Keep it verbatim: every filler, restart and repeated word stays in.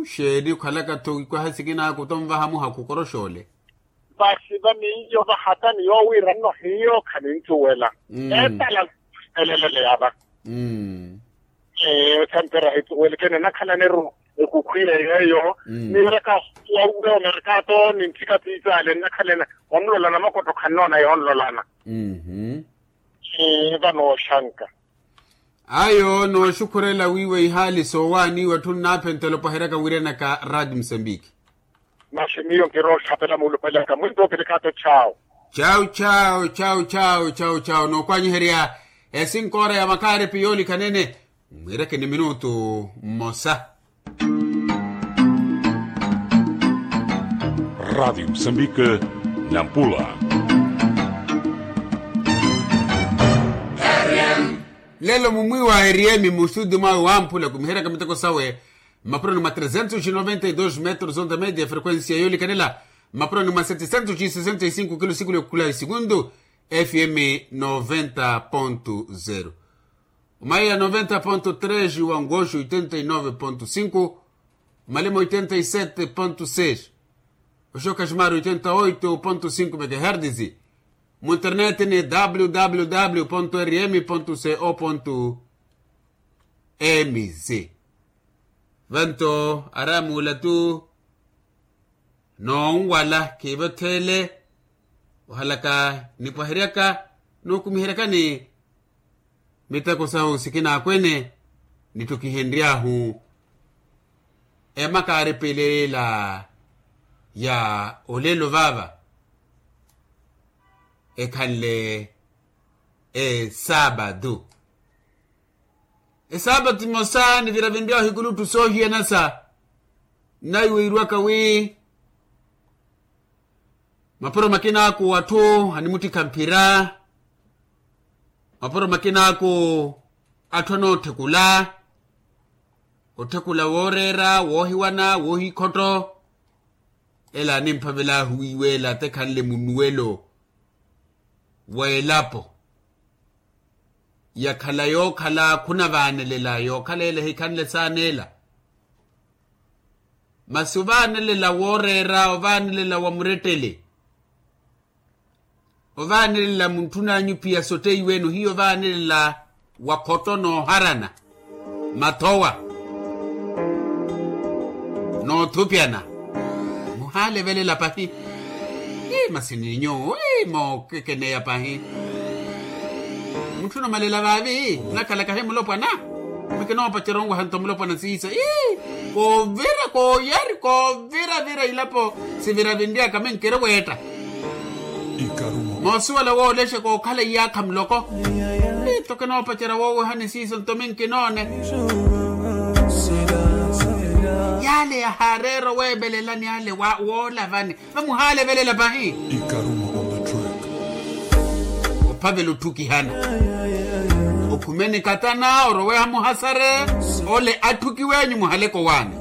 Xeeni okhalaka-tho wikwaha sikinaaku tonvaha muhakhu koroxoole. Vasi va miyo vahata ni yoowiira nno hiyo khaninthuwela. Eetala elelele yava. Sanpera hithuwelekene nakhalaniru ekukhwiira yeeyo. Niiraka wawuwe omerkato ni nthika piipaale nnakhalana onlolana makottho khannoona yoonlolana. Vano oxanka. Ayo nooxukhurela wiiwa ihaali soowaaniiwa etthu nnaaphentela opaheraka wiiranaka radi musambiki. Masi miyo nkirooxapela muulupelaka mwinto opelekaato chawo. Chawo chawo chawo chawo chawo chawo nookwanyiherya esinkoora ya makaaripi yoolikhanene. Mwiirekeni minutu mmosa. Radi musambiki. Nampula. Lelo mumwiiwa eriyemi musuuti mwawe wamphula kumiheryaka miteko sawe. Mmapuroni mwa trezentos e noventa e dos metros onta media frequencia yoolikanela. Mmapuroni mwa setecentos e sesenta e cinco kilo sikulu yokhula esikuntu. Fm noventa ponto zero. Omaiya noventa ponto tres wangoxo oitenta e nove ponto cinco. Omalema oitenta e sete ponto seis. Oxoka ximari oitenta oito ponto cinco megahertisi. Munterneti ni www rm co mz. Vanto aramuula tu noonwala khiivotheele. Ohalaka nipwaheryaka nookumiheryakani miteko sahu sikinaakwene. Nitthukihenry'ahu emakaaripeleyela ya olelo vaava ekhanle esaapatu. Esaapatu emosa niviravinry'ahu ikulutthu soohiyanasa. Nnaiwiiriwaka wi mapuro makinaaku atthu animuttikha mphira. Mapuro makinaaku atthu anootthekula otthekula wooreera woohiwana woohikhotto. Ela animphavel'ahu wiiwa ela atekhanle munuwelo w'elapo. Yakhala yookhala khunavaanelela yookhala ela ehikhanle saaneela. Masi ovaanelela wooreera ovaanelela wa murettele. Ovaanelela muntthun'anyu pia sotteiw'enu hiyo ovaanelela wa khotto nooharana mathowa noothupyana. Muhaalevelela pahi. Ii masi ni nyuwo ii mookekeneya pahi. Muntthuna omalela vaavi nakhalaka hi mulopwana. Mikinoopacerya onwaha nto mulopwana siiso ii koovira kooyari kooviravira ilapo. Siviravinry'aka minkiri weetta moosuwela woolexa kookhala iyaakha muloko. Ii nto kinoopacerya woowehani siiso nto minkinoone. Yaale yahaareera oweevelelani ale woolavani. Vamuhaalevelela pahi. Ophavela otthukihana okhumeni katana oroweha muhasare. Ole atthukiw'enyu muhaleke owaani.